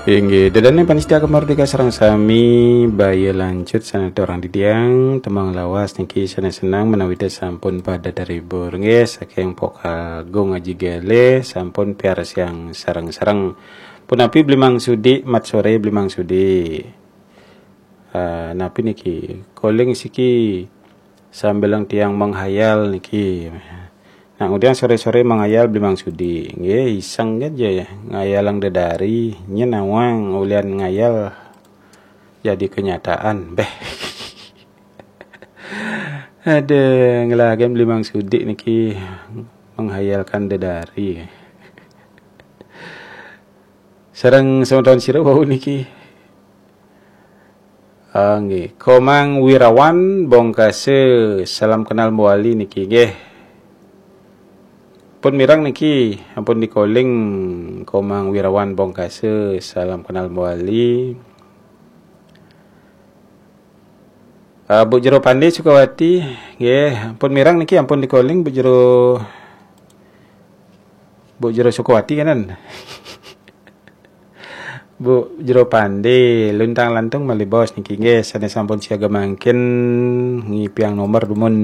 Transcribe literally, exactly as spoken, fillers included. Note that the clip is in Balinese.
Inggih, ida dané pamiarsa Gema Merdeka sareng sami, baya lanjut sané torang titiang, tembang lawas niki sané seneng menawi sampun pada terhibur. Nggih, saking Pok Agung Aji Gele sampun piarsiang sareng-sareng. Punapi Bli Mangsudi, mat sore Bli Mangsudi. Ah, napi niki? Calling siki sambilang tiang menghayal niki. Nah, kemudian sore-sore menghayal Bli Mangsudi. Nggih, iseng aja ya, ngayalang dedari, nyén awang ulian ngayal jadi kenyataan. Beh. Ada ngelagen Bli Mangsudi niki menghayalkan dedari. Sareng semeton sira wau niki. Ah, nggih. Komang Wirawan Bongkase, salam kenal Mbok Ali niki nggih. Pun mireng niki, ampun di-calling Komang Wirawan Bongkase, salam kenal Mbok Ali. Ah, Bu Jero Pande Sukawati, nggih, ampun mireng niki, ampun di-calling Bu Jero, Bu Jero Sukawati kanan. Bu Jero Pande, luntang lantung malih bos niki nggih, sané sampun siaga mangkin ngipiang nomor dumun.